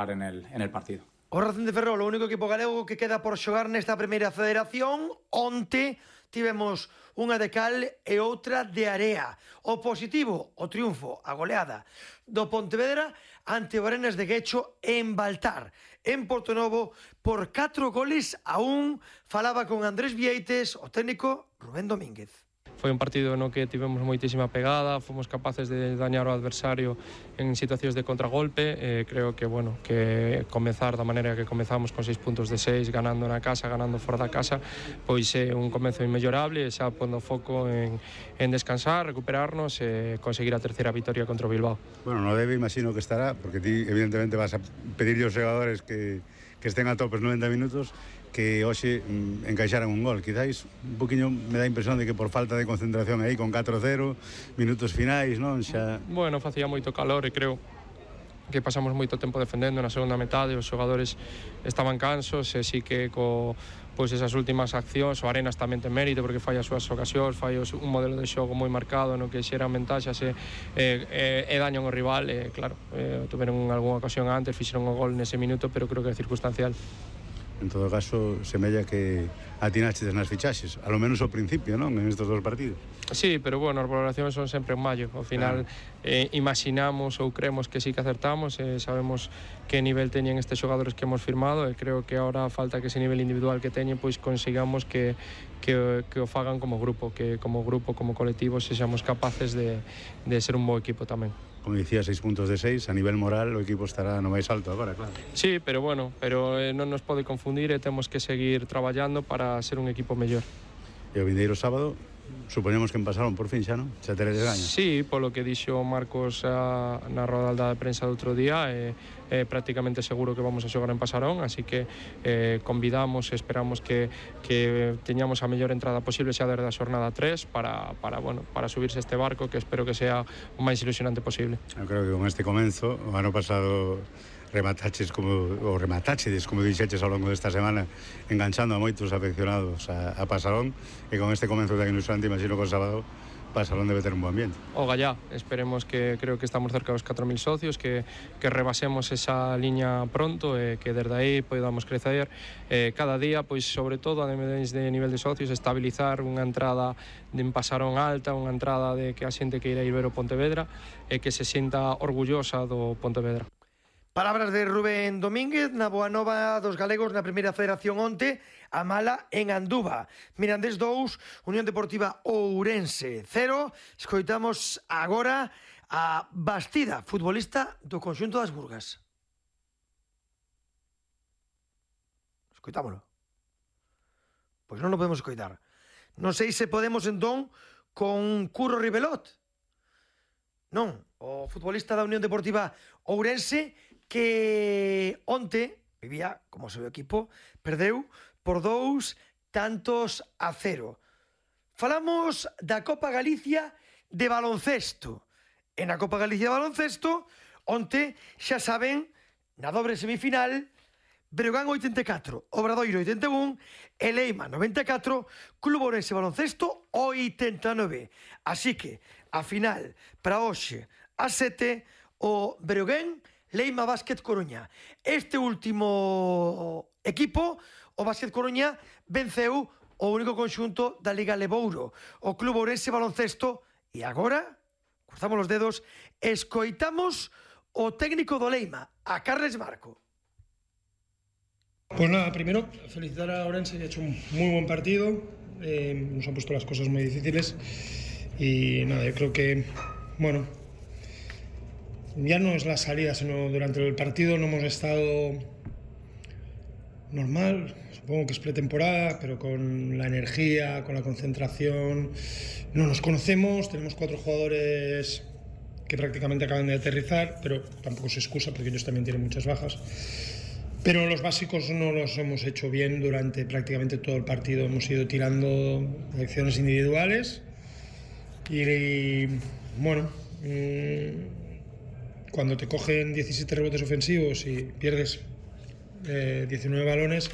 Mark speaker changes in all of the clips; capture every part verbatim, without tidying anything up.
Speaker 1: en el, en el partido.
Speaker 2: O Racing de Ferrol, o único equipo galego que queda por xogar nesta primeira federación. Onte tivemos unha de cal e outra de area. O positivo, o triunfo, a goleada do Pontevedra ante o Arenas de Guecho en Baltar, en Portonovo, por catro goles a un. Falaba con Andrés Vieites, o técnico Rubén Domínguez.
Speaker 3: Foi un partido no que tivemos moitísima pegada, fomos capaces de dañar ao adversario en situacións de contragolpe. Eh, creo que, bueno, que comezar da maneira que comezamos con seis puntos de seis, ganando na casa, ganando fora da casa, pois é un comezo inmellorable, xa pondo foco en, en descansar, recuperarnos e conseguir a terceira vitoria contra o Bilbao.
Speaker 4: Bueno, no debe, imagino que estará, porque ti evidentemente vas a pedirle aos xogadores que, que estén a tope os noventa minutos, que hoxe mm, encaixaran un gol. Quizáis un poquinho me dá a impresión de que por falta de concentración aí con catro cero, minutos finais, non? Xa...
Speaker 3: Bueno, facía moito calor e creo que pasamos moito tempo defendendo na segunda metade, os xogadores estaban cansos e sí que co pois esas últimas accións, o Arenas tamén ten mérito porque fai as súas ocasións, fai un modelo de xogo moi marcado no que xeran ventaxas e, e, e dañan o rival e claro, eh, tuveron algunha ocasión antes, fixeron o gol nese minuto, pero creo que é circunstancial.
Speaker 4: En todo caso, semella que atinaches nas fichaxes, a lo menos ao principio, non? En estes dos partidos.
Speaker 3: Sí, pero bueno, as valoracións son sempre en maio. Ao final, claro. eh, imaginamos ou creemos que sí que acertamos, eh, sabemos que nivel teñen estes xogadores que hemos firmado e creo que ahora falta que ese nivel individual que teñen, pois consigamos que, que, que o fagan como grupo, que como grupo, como colectivo, sexamos capaces de, de ser un bo equipo tamén.
Speaker 4: Como dicía, seis puntos de seis, a nivel moral o equipo estará no máis alto agora, claro.
Speaker 3: Sí, pero bueno, pero eh, non nos pode confundir e temos que seguir traballando para ser un equipo mellor.
Speaker 4: E o vindeiro sábado, supoñemos que empasaron por fin xa, non? Xa teredes gaño.
Speaker 3: Sí, polo que dixo Marcos a, na roda de prensa do outro día, é eh, eh, prácticamente seguro que vamos a xogar en Pasarón, así que eh, convidamos e esperamos que, que teñamos a mellor entrada posible xa desde a xornada tres para, para, bueno, para subirse este barco que espero que sea o máis ilusionante posible.
Speaker 4: Eu creo que con este comenzo, o ano pasado remataches como, ou rematachedes, como dixeches ao longo desta semana, enganchando a moitos afeccionados a, a Pasarón, e con este comenzo tan ilusionante, imagino que o sábado Pasarón debe ter un bo ambiente.
Speaker 3: Ogallá, esperemos que creo que estamos cerca dos catro mil socios, que, que rebasemos esa liña pronto e que desde aí podamos crecer eh, cada día, pois sobre todo a de nivel de socios, estabilizar unha entrada de en Pasarón alta, unha entrada de que a xente que irá ir ver o Pontevedra e que se sinta orgullosa do Pontevedra.
Speaker 2: Palabras de Rubén Domínguez na boa nova dos galegos na primeira federación onte, a mala en Anduva. Mirandés dous, Unión Deportiva Ourense cero. Escoitamos agora a Bastida, futbolista do conxunto das Burgas. Escoitámolo. Pois non lo podemos escoitar. Non sei se podemos entón con Curro Ribelot. Non, o futbolista da Unión Deportiva Ourense que onte vivía como seu equipo, perdeu por dous tantos a cero. Falamos da Copa Galicia de baloncesto. En a Copa Galicia de baloncesto, onte, xa saben, na dobre semifinal, Breogán oitenta e catro, Obradoiro oitenta e un, e Leima noventa e catro, Club Ourense Baloncesto oitenta e nove. Así que, a final, para hoxe, a sete, o Breogán Leima Básquet Coruña. Este último equipo, o Básquet Coruña, venceu o único conxunto da Liga Lebouro, o Club Ourense Baloncesto, e agora, cruzamos os dedos, escoitamos o técnico do Leima, a Carles Marco.
Speaker 5: Pues nada, primero felicitar a Ourense, que ha hecho un muy buen partido, eh, nos han puesto las cosas muy difíciles y nada, yo creo que, bueno, ya no es la salida, sino durante el partido no hemos estado normal, supongo que es pretemporada, pero con la energía, con la concentración, no nos conocemos, tenemos cuatro jugadores que prácticamente acaban de aterrizar, pero tampoco se excusa porque ellos también tienen muchas bajas. Pero los básicos no los hemos hecho bien durante prácticamente todo el partido, hemos ido tirando acciones individuales y, y bueno, mmm, cuando te cogen diecisiete rebotes ofensivos y pierdes eh, diecinueve balones,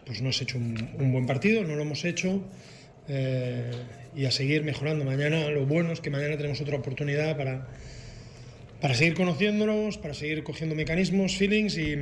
Speaker 5: pues no has hecho un, un buen partido, no lo hemos hecho eh, y a seguir mejorando. Mañana lo bueno es que mañana tenemos otra oportunidad para, para seguir conociéndonos, para seguir cogiendo mecanismos, feelings y